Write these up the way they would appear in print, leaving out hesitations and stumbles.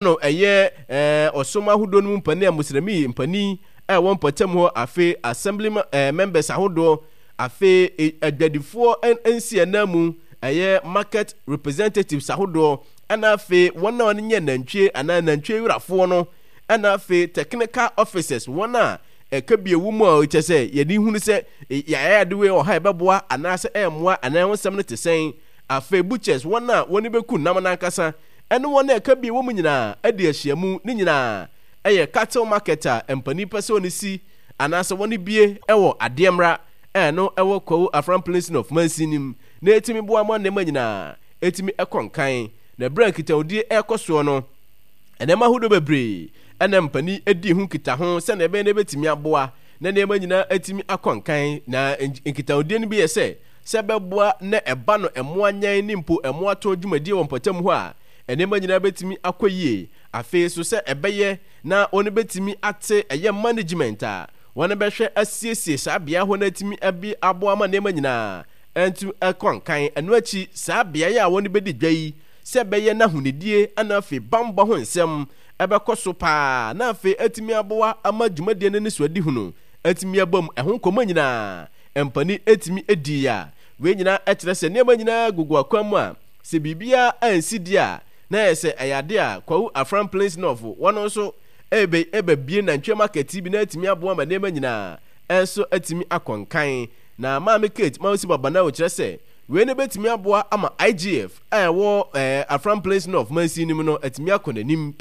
No ɛyɛ ɔsom ahodoɔ no mu mpanin a Muslimi mpanin a ɛwɔ mpɔtam hɔ, afei assembly members ahodoɔ, afei adwadifoɔ nsiananmu, ɛyɛ market representatives ahodoɔ, ɛna afei wɔn a wɔnyɛ nantwie anaa nantwie wurafoɔ no, ɛna afei technical officers, wɔn a ɛka bi ɛwɔ mu a kyɛ sɛ yɛde hunu sɛ yɛayɛ ade wei wɔ ha ɛbɛboa anaasɛ ɛmmoa anaa ɛho nsɛm no te sɛn, afei butchers, wɔn a wɔn bɛku nam no ankasa, ɛne wɔn a ɛka bi wɔ mu nyinaa adi ahyiamu. Ne nyinaa yɛ cattle market a mpanin pɛ sɛ wɔn si anaasɛ wɔn bue wɔ adeɛ mmra a ɛno ɛwɔ Kwawu Afram Plains North mansin no mu na ɛtumi boa ma nneɛma nyinaa ɛtumi ɛkɔ nkan. Na berɛ a nkitahodie ɛrekɔ soɔ no, nneɛma ahodoɔ bebree ɛna mpanin ɛdi ho nkitaho sɛdeɛ ɛbɛyɛ na ɛbɛtumi aboa na nneɛma nyinaa atumi akɔ nkan. Na nkitahodie no bi yɛ sɛ, sɛ ɛbɛboa na ɛba no mmoa nyɛn ne mpo mmoa tɔn dwumadie wɔ mpɔtam hɔ a, nneɛma nyinaa bɛtumi akɔ yie. Afei nso sɛ ɛbɛyɛ na wɔn bɛtumi ate ɛyɛ management a wɔn bɛhwɛ asiesie saa beaɛ hɔ no atumi abi aboa ama nneɛma nyinaa antu akɔ nkan. Ɛno akyi saa beaeɛ a wɔn bɛdi dwa yi sɛ ɛbɛyɛ na ahonidie ɛna afei banbɔ ho nsɛm ɛbɛkɔ so paa na afei atumi aboa ama dwumadie no anisoadehunu atumi aba mu. Ɛho nkɔmmɔ nyinaa mpanin tumi dii a, wei nyinaa kyerɛ sɛ nneɛma nyinaa gugu akwan mu a, sɛ biribiara ansi deɛ a, na ayɛ sɛ ɛyɛ adeɛ a Kwawu Afram Plains North wɔn nso rebe rebɛbue nantwie market bi na atumi aboa ma nneɛma nyinaa nso atumi akɔ nkan. Na Maame Kate Mausi Babanawo kyerɛ sɛ wei no bɛtumi aboa ama IGF a ɛwɔ eh, Afram Plains North mansin no mu no atumi akɔ n'anim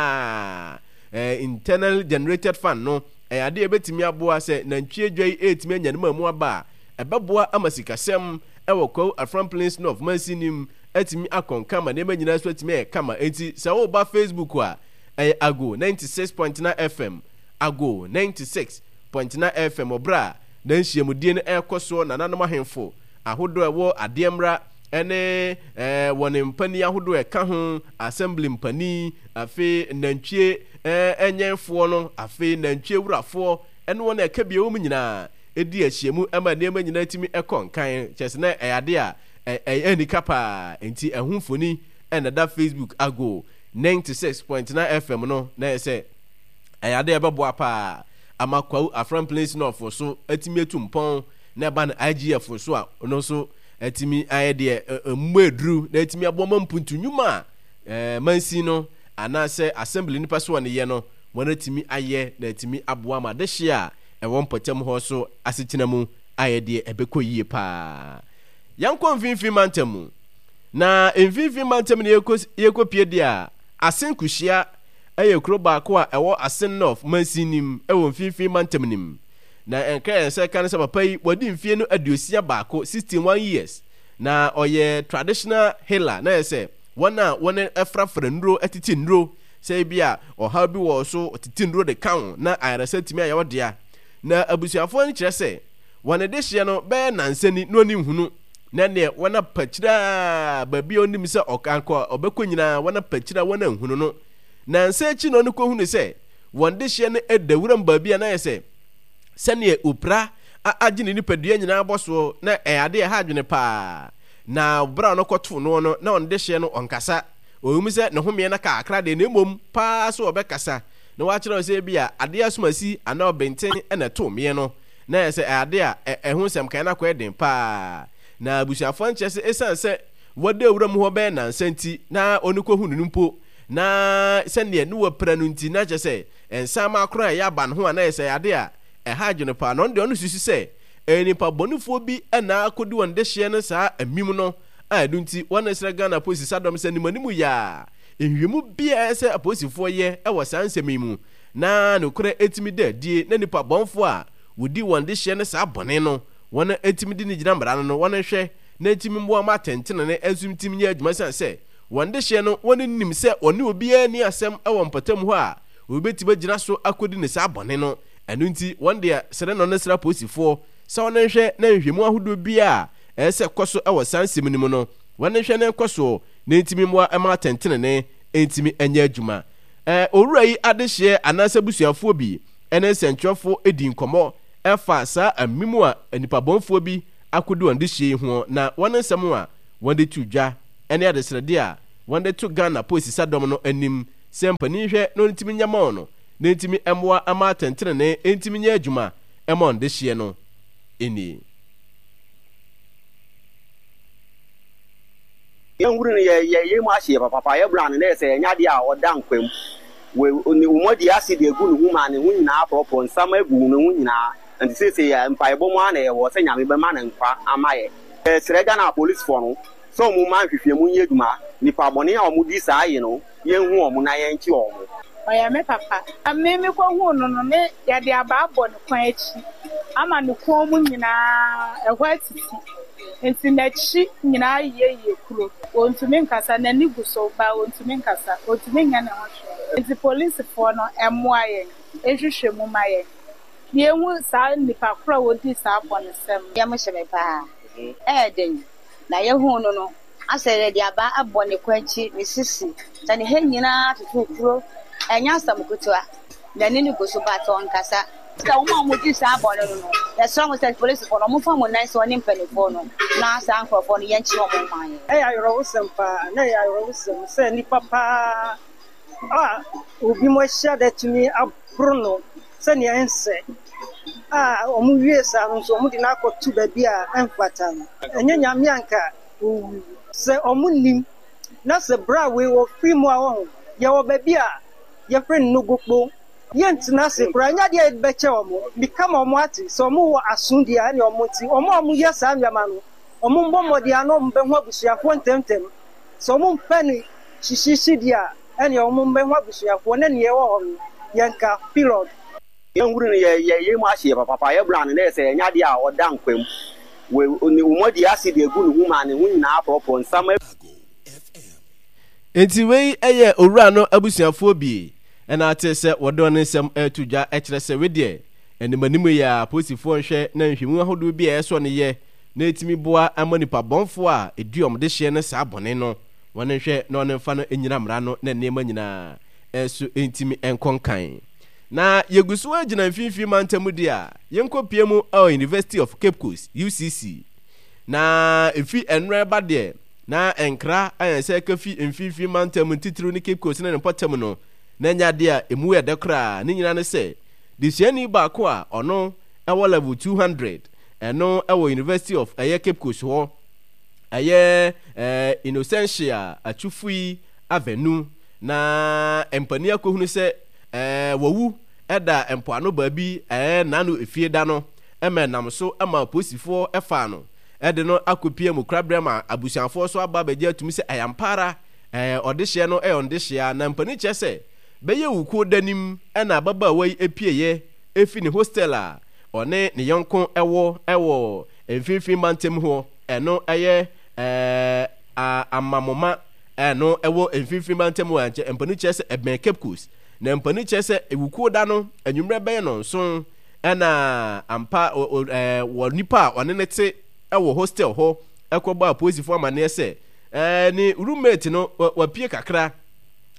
paa. Eh, Internally Generated Fund no Ɛyɛ ade a ebetumi aboa sɛ nantwie dwa yi retumi anya ne mmamu aba a, ɛbɛboa ama sikasɛm wɔ Kwawu Afram Plains North mansin no mu atumi akɔ nka ma nneɛma nyinaa nso atumi ayɛ kama. Enti sɛ woreba Facebook a, ɛyɛ Ago 96.9 FM, Ago 96.9 FM wɔ berɛ a na nhyiamudie no rekɔ soɔ, nananom ahemfo ahodoɔ a ɛwɔ adeɛ mmra ne wɔn mpanin ahodoɔ a ɛka ho, assembly mpanin, afei nantwie nyɛnfoɔ no, afei nantwie wurafoɔ ne wɔn a ɛka bi wɔ mu nyinaa di ahyiamu ma nneɛma nyinaa tumi kɔ nkan. Kyerɛ sɛ na ɛyɛ ade a ɛyɛ anika paa. Enti ɛho mfoni na ɛda Facebook Ago 96.9 FM no, na ɛyɛ sɛ ɛyɛ ade a ɛbɛboa paa ama Kwawu Afram Plains North so atumi atu mpɔn na ɛba no IGF so a ɔno nso atumi ayɛ deɛ ɛmu aduru na atumi aboa ma mpuntu nnwuma a mansin no anaasɛ assembly no pɛ sɛ wɔn yɛ no wɔn atumi ayɛ na atumi aboa ma adehyeɛ a ɛwɔ mpɔtam hɔ so asetena mu ayɛ deɛ ɛbɛkɔ yie paa. Yɛnkɔ mfimfini mantam mu. Na mfimfini mantam no yɛkɔ yɛkɔpie deɛ a, Asen Kuhyia yɛ kuro baako a ɛwɔ Asen North mansin no mu wɔ mfimfini mantam no mu. Na ɛnka yɛn sɛ ka ne sɛ papa yi wadi mfie no 61, 61 years, na ɔyɛ traditional healer, na yɛ sɛ wɔn a wɔn frafra nnuro tete nnuro, sɛ ebi a ɔhaw bi wɔ so tete nnuro de ka ho na ayaresa tumi ayɛ wo dea. Na abusuafoɔ no kyerɛ sɛ wɔn dehyeɛ no bɛyɛ nansa ni na ɔni nhunu, na neɛ wɔn apakyiri a baabi a ɔnim sɛ ɔkankɔ ɔbɛkɔ nyinaa wɔn apakyiri a wɔn anhunu no. Nansa akyi na ɔno kɔhunu sɛ wɔn dehyeɛ no da wuram baabi a na ayɛ sɛ sɛdeɛ opira agye ne nipadua nyinaa bɔ soɔ, na ɛyɛ adeɛ a ɛha adwene paa. Na berɛ a ɔno kɔtoo noɔ no, na ɔno dehyeɛ no ɔnkasa. Ɔwom sɛ ne homeɛ no aka kakra deɛ, na mmom paa so ɔbɛkasa na wakyerɛ wo sɛ ebia adeɛ asomasi anaa ɔbenten na ɛtoo meɛ no. Na ɛyɛ sɛ ɛyɛ adeɛ a ɛho nsɛm kan no akɔyɛ den paa. Na abusuafoɔ no kyerɛ sɛ ɛsiane sɛ wɔda wuram hɔ bɛyɛ nnansa nti, na ɔno kɔhunu no mpo, na sɛdeɛ ne wapira no nti, na kyerɛ sɛ nsaama koraa a ɛyɛ aba ne ho a, na ɛyɛ sɛ ɛyɛ adeɛ a ɛha adwene paa. Na ɔno deɛ ɔno susu sɛ ɛyɛ nnipa bɔnefoɔ bi na akɔdi wɔn dehyeɛ no saa amim no a ɛno nti wɔresrɛ Ghana apolisi sadɔm sɛ animanimu yɛ a nhwehwɛmu biara ɛsɛ sɛ apolisifoɔ yɛ wɔ saa nsɛm yi mu na nokorɛ ɛtumi da adie na nnipa bɔnfoɔ a wɔdi wɔn dehyeɛ no saa bɔne no wɔn ɛtumi de no gyina mmara no no wɔn nhwɛ na ɛtumi mmoa ma atɛntenene nso ntumi nyɛ adwuma ɛsiane sɛ wɔn dehyeɛ no wɔn nnim sɛ wɔne obiara nni asɛm wɔ mpɔtam hɔ a wɔbɛtumi agyina so akɔdi no saa bɔne no. Ɛno nti, wɔn deɛ srɛ na wɔsrɛ apolisifoɔ sɛ wɔnhwɛ na nhwehwɛmu ahodoɔ biara a ɛsɛ sɛ ɛkɔ so wɔ saa nsɛm no mu no, wɔnhwɛ na ɛnkɔ soɔ na ɛntumi mmoa mma atɛntenenee ntumi nyɛ adwuma. Owura yi adehyeɛ anaasɛ abusuafoɔ bi ne nsɛntwerɛfoɔ dii nkɔmmɔ fa saa amim a nnipabɔnfoɔ bi akɔdi wɔn dehyeɛ yi ho na wɔn nsɛm a wɔde to dwa ne adesrɛdeɛ a wɔde to Ghana polisi sadɔm no anim. sɛ mpanin hwɛ na ɔntumi nyɛ ma wɔn no, na ɛntumi mmoa mma atɛntenenee ntumi nyɛ adwuma mma wɔn dehyeɛ no nie. Yɛn huru no yɛ yɛ yɛn mu ahyeɛ papapa, yɛ bra no na yɛ sɛ ɛnyɛ adeɛ a ɔda nkwa mu. Wɔ ne wɔadi acid agu ne ho ma ne ho nyinaa aporɔporɔ, nsam agu ne ho nyinaa. Nti seesei yɛ mpaebɔ mu ara na yɛwɔ sɛ Nyame bɛma no nkwa ama yɛ. Yɛsrɛ Ghana apolisifoɔ no sɛ wɔn mma nhwehwɛmu nyɛ adwuma, nipa bɔne a wɔn di saa ye no yɛnhu wɔn na yɛnkye wɔn. Ɔyɛ me papa. Me mekɔhuu no no, ne yɛde abaa bɔ ne kɔn akyi ama ne kɔn mu nyinaa ɛhɔ atiti. Nti n'akyi nyinaa ayeyɛyeyɛ kuro. Ɔntumi nkasa, n'ani gu so but ɔntumi nkasa, ɔntumi nyɛ ne ho hwee. Nti polisifoɔ no mmoa yɛn, nhwehwɛ mu ma yɛn na yɛnhu saa nnipa korɔ a wɔdii saa bɔnesɛm no. Yam hye me paa. Ɛyɛ den. Na yɛhuu no no, asɛ yɛde abaa abɔ ne kɔn akyi, ne sisi, sɛ ne ha nyinaa atoto kuro. Ɛnyɛ asɛm ketewa. N'ani no gu so but ɔnkasa. Sɛ wɔn a wɔdi saa bɔne no no, yɛsrɛ wɔn sɛ polisifo no, wɔmfa wɔn nan nsi wɔne mpanimfoɔ no na saa nkurɔfoɔ no yɛnkye wɔn mma yɛn. Ɛyɛ awerɛhosɛm paa, na ɛyɛ awerɛhosɛm sɛ nnipa paa a obi mo ahyia da tumi aboro no sɛnea ɛnsɛ a wɔwie saa no nso wɔde no akɔto baabi a ɛmfata no. Ɛnyɛ Nyame anka owui. Sɛ wɔnnim na sɛ bere a wei wɔfiri mu a wɔho yɛwɔ baabi a yɛfrɛ no Nogokpo. Yɛntena ase koraa, ɛnyɛ adeɛ a yɛde bɛkyɛ wɔn. Meka ma wɔn ate, sɛ wɔwɔ aso deɛ a, ɛnneɛ wɔn nte. Wɔn a wɔyɛ saa nneɛma no, wɔmmɔ mmɔden ara na wɔbɛhu abusuafoɔ ntɛmntɛm. Sɛ wɔmpɛ no hyehyeehye deɛ a, ɛnneɛ wɔmmɛhu abusuafoɔ na nea ɛwɔ hɔ no, yɛnka. Period. Yɛn huru no yɛ yɛ yɛn mu ahyeɛ papapa, yɛ bra no na yɛ sɛ ɛnyɛ adeɛ a ɔda nkwa mu. Wɔ ne wɔadi acid agu ne ho ma ne ho nyinaa aporɔporɔ, nsam. Enti wei yɛ owura no abusuafoɔ bi na ate sɛ wɔde wɔn nsɛm reto dwa kyerɛ sɛ wei deɛ animanim yi ara apolisifoɔ nhwɛ na nhwɛmu ahodoɔ bi a ɛsɔ no yɛ na ɛtumi boa ma nipa bɔnfoɔ a ɛdi wɔn dehyeɛ no saa bɔne no wɔn nhwɛ na wɔn mfa no nnyina mmara no na nneɛma nyinaa nso ntumi nkɔ nkan. Na yɛgu so ara gyina mfimfini mantam deɛ a yɛnkɔpie mu wɔ University of Cape Coast, UCC. Na ɛfiri ɛnora ɛba deɛ Na nkra a yɛn nsa ka fi mfinimfini mantam ntitiriw ne Cape Coast ne ne mpɔtam no, na ɛnyɛ ade a emu yɛ dɛ koraa. Ne nyinaa ne sɛ, desuani baako a ɔno wɔ level 200, ɛno wɔ University of ɛyɛ Cape Coast hɔ, ɛyɛ Innocentia Atufui Avenu, na mpanin akɔhunu sɛ wawu da mpoano baabi n'ano efie da no, ma ɛnam so ma apolisifoɔ faa no. de no akɔpia mu koraberɛ ma abusuafoɔ nso aba abɛgye atum sɛ ɛyɛ ampa ara ɛɛ ɔdehyeɛ no yɛ ɔndehyeɛ a, na mpanin kyerɛ sɛ bɛyɛ wukuo da nim na ababaawa yi pieeɛ fi ne hostel a ɔne ne yɔnko wɔ wɔ mfimfini mantam hɔ, ɛno yɛ ɛɛ Amamoma ɛno ɛwɔ mfimfini mantam hɔ a nkyɛ mpanin kyerɛ sɛ ɛbɛn Cape Coast, na mpanin kyerɛ sɛ wukuo da no anwummerɛ bɛyɛ nɔnson Ɛna ampa wɔ nipa a ɔne no te wɔ hostel hɔ kɔbɔ apolisifoɔ amaneɛ sɛ ne roommate no wapue kakra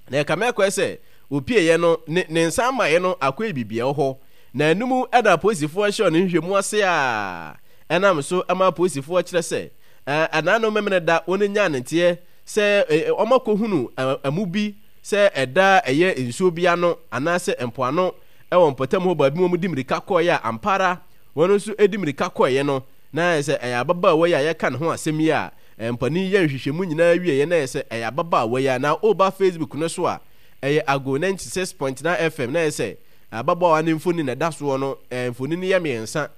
na ɛkame akɔɛ sɛ opieeɛ no ne ne nsa amaeɛ no akɔyɛ biribi ɛwɔ hɔ na ɛno mu ɛna apolisifoɔ hyɛ ɔne nhwehwɛmu ase a ɛnam so ma apolisifoɔ kyerɛ sɛ ɛnaano memene da wɔn nyaa ne nteɛ sɛ wɔn akɔhunu amu bi sɛ ɛda ɛyɛ nsuo bi ano anaasɛ mpoano wɔ mpɔtam hɔ baabi ma wɔde mmirika kɔeɛ a, ampa ara wɔn nso de mmirika kɔeɛ no, na ayɛ sɛ ɛyɛ ababaawa yi a yɛka ne ho asɛm yi a mpanin yɛ nhwehwɛmu nyinaa wieeɛ na ɛyɛ sɛ ɛyɛ ababaawa yi a na woba Facebook no so a ɛyɛ Ago 96.9 FM na ɛyɛ sɛ ababaawa no mfoni na ɛda soɔ no mfoni no yɛ mmiɛnsa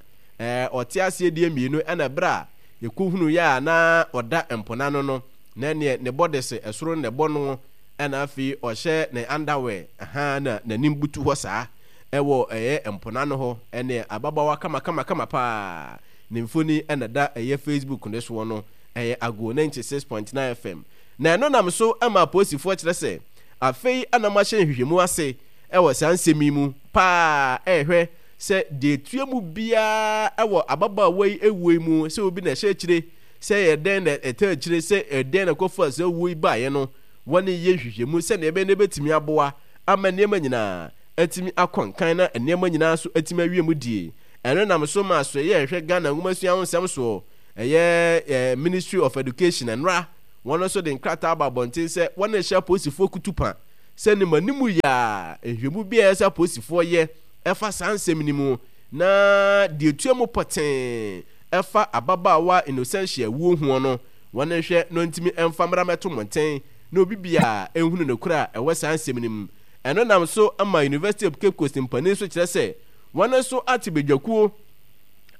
ɔte aseɛ deɛ mmienu ɛna berɛ a yɛkɔhunuiɛ a na ɔda mpona no no na ɛneɛ ne bɔdese ɛsoro na ɛbɔ no ɛna afei ɔhyɛ ne underwear ahaa na n'anim butu hɔ saa ɛwɔ ɛyɛ mpona no hɔ ɛne ababaawa kama kama kama paa ne mfoni ɛna da ɛyɛ Facebook no soɔ no ɛyɛ Ago 96.9 FM na ɛno nam so ɛma apolisifoɔ kyerɛ sɛ afei ɛna wɔahyɛ nhwehwɛmu ase ɛwɔ saa nsɛm yi mu paa ɛrehwɛ sɛ deɛ ɛtua mu biara ɛwɔ ababaawa yi ɛwuo yi mu sɛ obi na ɛhyɛ akyire sɛ ɛyɛ dɛn na ɛtaa akyire sɛ ɛdɛn na ɛkɔfaa saa wuo yi baeɛ no wɔne yɛ nhwehwɛmu sɛnea ɛbɛyɛ na ɛbɛtumi aboa ama nneɛma nyinaa atumi akɔ nkan na nneɛma nyinaa nso atumi awie mu die. Ɛno nam so ma asoɛeɛ a ɛhwɛ Ghana nwomasua ho nsɛm soɔ, ɛyɛ Ministry of Education, nnora, wɔn nso de nkrataa aba abɔnten sɛ wɔrehyɛ apolisifoɔ kutupa. sɛ ne ma ne mu yɛ a nhwɛmu bi a ɛyɛ sɛ apolisifoɔ yɛ ɛfa saa nsɛm no mu na deɛ ɛtua mu pɔtee ɛfa ababaawa Innocentia wuo hoɔ no wɔn nhwɛ na ɔntumi mfa mmra mmɛto mmɔnten na obi biara nhunu nokorɛ a ɛwɔ saa nsɛm no mu. Ɛno nam so ma University of Cape Coast mpanin nso kyerɛ sɛ wɔn nso ate badwakuo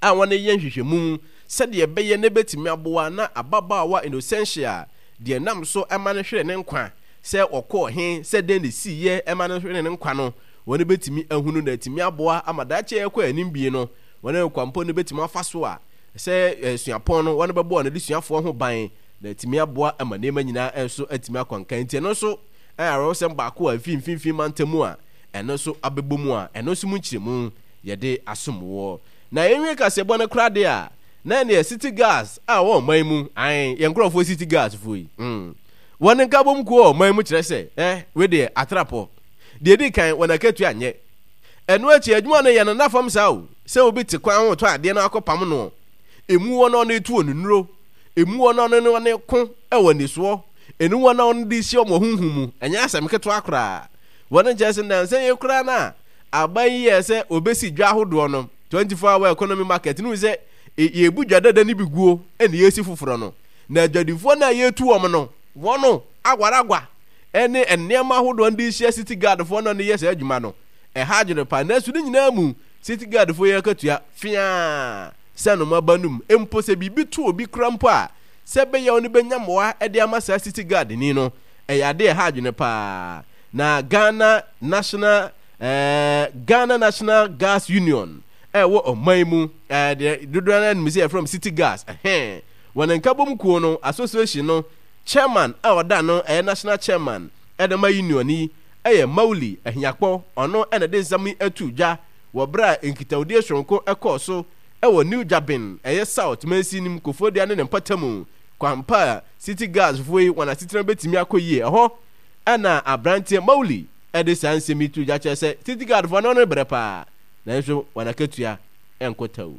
a wɔreyɛ nhwehwɛmu sɛdeɛ ɛbɛyɛ na ɛbɛtumi aboa na ababaawa Innocentia deɛ ɛnam so ma no hwere ne nkwa sɛ ɔkɔɔ he, sɛ dɛn na ɛsiiɛ ma no hwere ne nkwa no, wɔn bɛtumi ahunu na atumi aboa ama daakye a ɛrekɔ anim bie no, wɔn nkwampɔ no bɛtumi afa so a sɛ suapɔn no wɔn bɛbɔ wɔn adesuafoɔ ho ban na atumi aboa ama nneɛma nyinaa nso atumi akɔ nkan. Nti ɛno nso ɛyɛ awerɛhosɛm baako a ɛfiri mfimfini mantam mu a ɛno nso abɛbɔ mu a ɛno nso mu nkyerɛmu yɛde asom woɔ. Na yɛnwie kaseɛbɔ no koraa deɛ a, na ɛneɛ city gas a ɛwɔ ɔman mu, ae, yɛn nkurɔfoɔ city gas foɔ yi, mm, wɔn nkabom kuo wɔ ɔman mu kyerɛ sɛ, eh, wei deɛ atrapɔ. Deɛ ɛdi kan, wɔn akatua nyɛ. Ɛno akyi, adwuma no yɛ no nna fam saa o, sɛ obi te kwan ho retɔ adeɛ na wakɔpam noɔ. Ɛmu wɔn a wɔretu wɔn nnuro, ɛmu wɔn a wɔne wɔn reko wɔ anisoɔ, ɛnu wɔn a wɔde rehyia wɔn honhom mu, ɛnyɛ asɛm ketewa koraa. Wɔn nkyerɛ sɛ nnansa yi koraa no a aban yi yɛɛ sɛ wɔbɛsi dwa ahodoɔ no, 24 hour economy market no, sɛ yɛbu dwa dada no bi guo na yɛresi foforɔ no, na adwadifoɔ no a yɛretu wɔn no, wɔn agwaragwa ne nneɛma ahodoɔ no de rehyia city guardfoɔ no a wɔyɛ saa adwuma no, ɛha adwene paa. Nanso ne nyinaa mu, city guardfoɔ yi akatua feaa sɛ noma ba no mu. Mpo sɛ biribi to obi kora mpo a, sɛ ɛbɛyɛ a wɔbɛnya mmoa de ama saa city guardni no, ɛyɛ ade a ɛha adwene paa. Na Ghana National eh, Ghana National Gas Union ɛwɔ ɔman mu eh, deɛ dodoɔ no ara nim sɛ yɛfrɛ city gas ɛhɛn wɔn nkabom kuo no association no chairman a ɔda no ɛyɛ national chairman ɛde ma union yi ɛyɛ Mawuli Ahiakpɔ ɔno ɛna de nsɛm yi ato dwa wɔ berɛ a nkitahodie soronko ɛkɔɔ so ɛwɔ New Juaben ɛyɛ South mansin no mu Koforidua ne ne mpɔtamu kwampa a city gas foɔ yi wɔn asetena bɛtumi akɔ yie ɛhɔ Ɛnna aberanteɛ Mawuli de saa nsɛm yi too dwa kyerɛ sɛ City Guard foɔ no ne brɛ paa, nanso wɔn akatua nkɔ tau.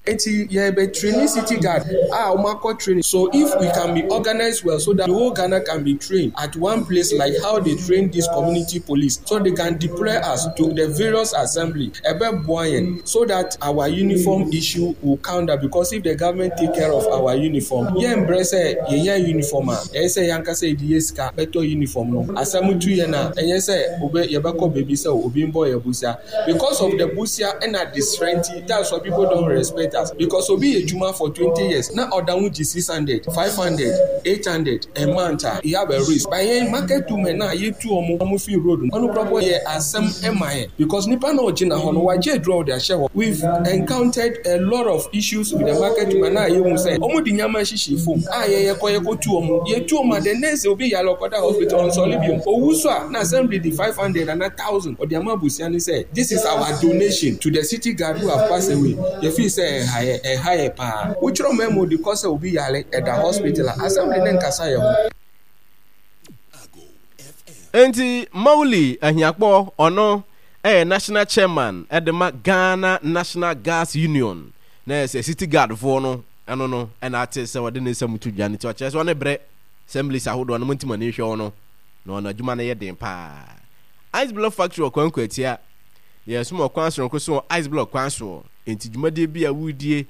Enti yɛrebɛ traini city guard a wɔn akɔ training so if we can be organised well so that the whole Ghana can be trained at one place like how they train this community police so they can deploy us to the various assembly ɛbɛ boa yɛn so that our uniform issue will count down because if the government take care of our uniform yɛn brɛ sɛ yɛnya uniform a ɛyɛ sɛ yɛn ankasa yɛde yɛ sika bɛtɔ uniform no asɛm tu yɛn a ɛnyɛ sɛ obe yɛbɛkɔ baabi sɛ obi mbɔ yɛn bosia because of the bosia ɛna adesrɛ nti that's why people don't respect us because obi yɛ adwuma for 20 years na ɔda ho gye 600 500 800 a month a he have a risk but yɛn market women a yɛtu wɔn wɔn fi road no ɔno koraa yɛ asɛm ɛma yɛn because nipa na ɔgyina hɔ no wagye aduro a ɔde ahyɛ hɔ we've encountered a lot of issues with the market women a yɛhu sɛ wɔn de nneɛma hyehyɛ fam a yɛn yɛkɔ yɛkɔ tu wɔn yɛtu wɔn a the next day obi yare ɔkɔda hospital ɔnsɔre biom owu so a na assembly de 500 ana 1000 ɔde ama abusua no sɛ this is our donation to the city guard who have passed away yɛfii sɛ ɛha yɛ ɛha yɛ paa wotwerɛ memo de kɔ sɛ obi yare ɛda hospital a assembly ne nkasa yɛ ho. Enti Mawuli Ahiakpor ɔno yɛ National Chairman de ma Ghana National Gas Union na ɛyɛ sɛ City Guard foɔ no ɛno no ɛna ate sɛ ɔde ne nsɛm to dwa no nti ɔkyerɛ sɛ ɔne brɛ assemblies ahodoɔ no monti mo ani nhwɛ ɔno na ɔno adwuma no yɛ den paa. Ice Block Factory wɔ Kwankwa Atia yɛsom ɔkwan soronko so wɔ Ice Block kwan soɔ enti dwumadie bi a woredie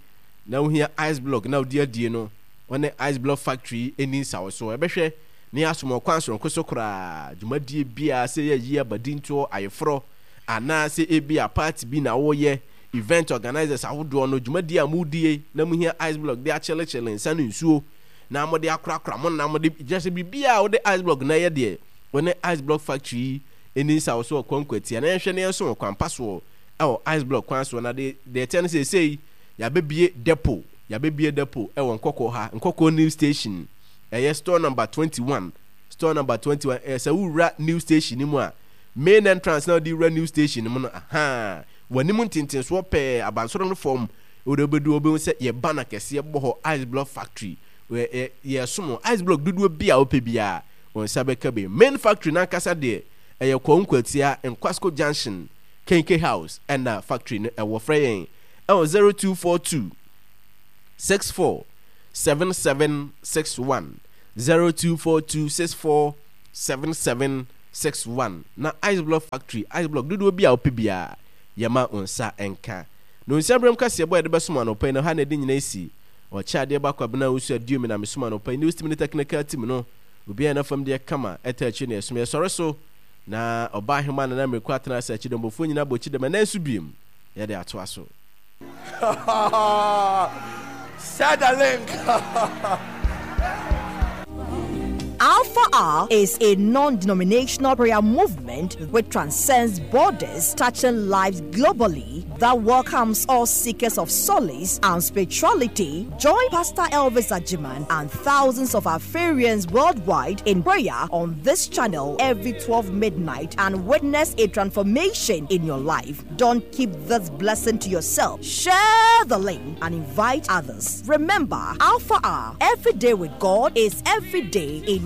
na wohia ice block na wode adie no wɔne Ice Block Factory yi nni nsawɔsoɔ ɛbɛhwɛ ne asom ɔkwan soronko so koraa. Dwumadie biara, sɛ ɛyɛ ayie, abadintoɔ, ayeforɔ, anaa sɛ ebia party bi na woreyɛ, event organisers ahodoɔ no, dwumadie a moredie na mohia ice block de akyelekyele nsa ne nsuo na mode akorakora mo nam de, kyerɛ sɛ biribiara a wode ice block na ɛyɛ deɛ, wɔne Ice Block Factory yi nni nsawɔsoɔ wɔ Kwankwatia na yɛnhwɛ na yɛnso wɔ kwan pa soɔ wɔ Ice Block kwan soɔ. Na deɛ ɛteɛ no seesei yɛabɛbue depot, yɛabɛbue depot wɔ Nkɔkɔɔ ha, Nkɔkɔɔ New Station. Ɛyɛ store number 21. Store number 21. Ɛyɛ sɛ wowura new station no mu a, main entrance na wode wura new station no mu no, ahaa, w'anim ntentensoɔ pɛɛ, abansoro no fam, wode wobɛdu hɔ wobɛhu sɛ yɛ banner kɛseɛ bɔ hɔ, Ice Block Factory. Yɛsom ice block dodoɔ bi a wopɛ biara, wo nsa bɛka bi. Main factory no ankasa deɛ, ɛyɛ Kwawu Nkwatia, Nkwasko Junction, Kenke House ɛna factory no ɛwɔ. Frɛ yɛn ɛwɔ 0242 64 7761 0242 64 7761. 61 na Ice Block Factory Ice Block dodoɔ bi a wopɛ biara yɛma wo nsa nka. Na onsia berɛm kaseɛbɔ a yɛde bɛsom anɔpa yi no ha na ɛde nyina asi. Ɔkyɛ adeɛ ba Kwabena Owusu Aduomi na mesom anɔpa yi News Team ne Technical Team no obiara yɛ n'afam deɛ kama ɛta akyire na yɛsom yɛsɔre so na ɔbaa ahema Nana Mmiriko atena ase akyidɔmbɔfoɔ nyina bɔ kyidɔm ɛnɛ nso biom yɛde atoa so. Share the link. Alpha R is a non denominational prayer movement which transcends borders, touching lives globally, that welcomes all seekers of solace and spirituality. Join Pastor Elvis Ajiman and thousands of Alpharians worldwide in prayer on this channel every 12 midnight and witness a transformation in your life. Don't keep this blessing to yourself. Share the link and invite others. Remember, Alpha R, every day with God is every day in